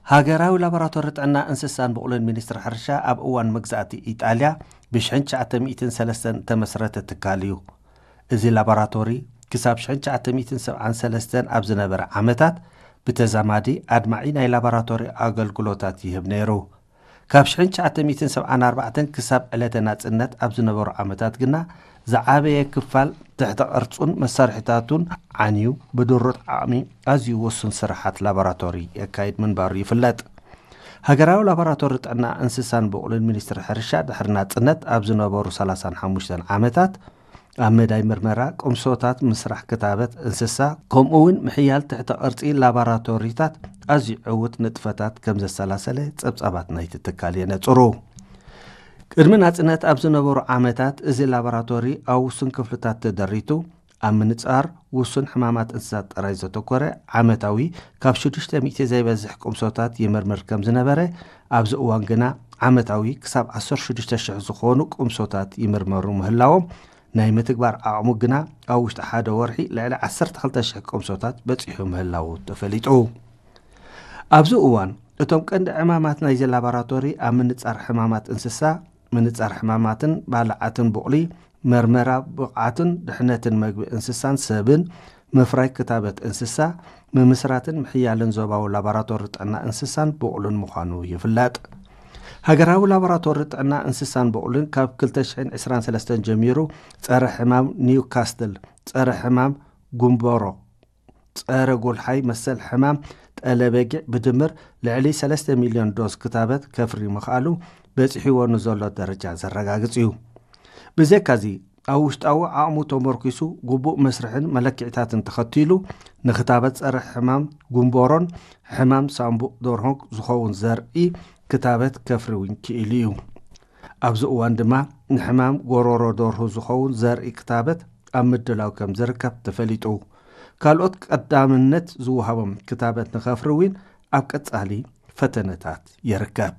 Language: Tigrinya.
ሃገራዊ ላቦራቶሪ ጥዕና እንስሳን ብቑልን ሚኒስትሪ ሕርሻ ኣብ እዋን መግዛእቲ ኢጣልያ ብሽሕን ትሽዓተ ሚእትን ሰለስተን እተመስረተ ትካል እዩ። እዚ ላቦራቶሪ ክሳብ ሽሕን ትሽዓተ ሚእትን ሰብዓን ሰለስተን ኣብ ዝነበረ ዓመታት ብተዛማዲ ኣድማዒ ናይ ላቦራቶሪ ኣገልግሎታት ይህብ ነይሩ። ካብ ሽሕን ትሽዓተ ሚእትን ሰብዓን ኣርባዕተን ክሳብ ዕለተ ናጽነት ኣብ ዝነበሩ ዓመታት ግና ዝዓበየ ክፋል ትሕተ ቅርጹን መሳርሒታቱን ዓንዩ ብድሩት ዓቕሚ ኣዝዩ ውሱን ስራሓት ላቦራቶሪ የካይድ ምንባሩ ይፍለጥ። ሃገራዊ ላቦራቶሪ ጥዕና እንስሳን ብቑልን ሚኒስትሪ ሕርሻ ድሕሪ ናጽነት ኣብ ዝነበሩ ሰላሳን ሓሙሽተን ዓመታት ኣብ መዳይ ምርመራ ቁምሶታት ምስራሕ ክታበት እንስሳ ከምኡ እውን ምሕያል ትሕተ ቅርጺ ላቦራቶሪታት ኣዝዩ ዕዉት ንጥፈታት ከም ዘሰላሰለ ጸብጻባት ናይቲ ትካል የነጽሩ። ቅድሚ ናጽነት ኣብ ዝነበሩ ዓመታት እዚ ላቦራቶሪ ኣብ ውሱን ክፍልታት ተደሪቱ ኣብ ምንጻር ውሱን ሕማማት እንስሳት ጥራይ ዘተኮረ ዓመታዊ ካብ ሽዱሽተ ሚእቲ ዘይበዝሕ ቁምሶታት ይምርምር ከም ዝነበረ፣ ኣብዚ እዋን ግና ዓመታዊ ክሳብ ዓሰርተ ሽዱሽተ ሽሕ ዝኾኑ ቁምሶታት ይምርመሩ ምህላዎም ናይ ምትግባር ዓቕሙ ግና ኣብ ውሽጢ ሓደ ወርሒ ልዕሊ ዓሰርተ ክልተ ሽሕ ቁምሶታት በጺሑ ምህላዉ ተፈሊጡ። ኣብዚ እዋን እቶም ቀንዲ ዕማማት ናይዚ ላቦራቶሪ ኣብ ምንጻር ሕማማት እንስሳ፣ ምንጻር ሕማማትን ባልዓትን ብቑሊ፣ መርመራ ብቕዓትን ድሕነትን መግቢ እንስሳን ሰብን፣ ምፍራይ ክታበት እንስሳ፣ ምምስራትን ምሕያልን ዞባዊ ላቦራቶሪ ጥዕና እንስሳን ብቑልን ምዃኑ ይፍለጥ። ሃገራዊ ላቦራቶሪ ጥዕና እንስሳን ብቑልን ካብ ክልተ ሽሕን ዕስራን ሰለስተን ጀሚሩ ጸረ ሕማም ኒውካስትል፣ ጸረ ሕማም ጉምበሮ፣ ጸረ ጎልሓይ መሰል ሕማም ጠለበጊዕ ብድምር ልዕሊ ሰለስተ ሚልዮን ዶዝ ክታበት ከፍሪ ምኽኣሉ በጺሕዎ ንዘሎ ደረጃ ዘረጋግጽ እዩ። ብዘካዚ ኣብ ውሽጣዊ ዓቕሙ ተመርኪሱ ግቡእ መስርሕን መለክዕታትን ተኸቲሉ ንክታበት ጸረ ሕማም ጉምበሮን ሕማም ሳምቡእ ደርሆን ዝኸውን ዘርኢ ክታበት ከፍሪ እውን ክኢሉ እዩ። ኣብዚ እዋን ድማ ንሕማም ጎሮሮ ደርሁ ዝኸውን ዘርኢ ክታበት ኣብ ምድላው ከም ዝርከብ ተፈሊጡ። ካልኦት ቀዳምነት ዝወሃቦም ክታበት ንኸፍሪ እውን ኣብ ቀጻሊ ፈተነታት ይርከብ።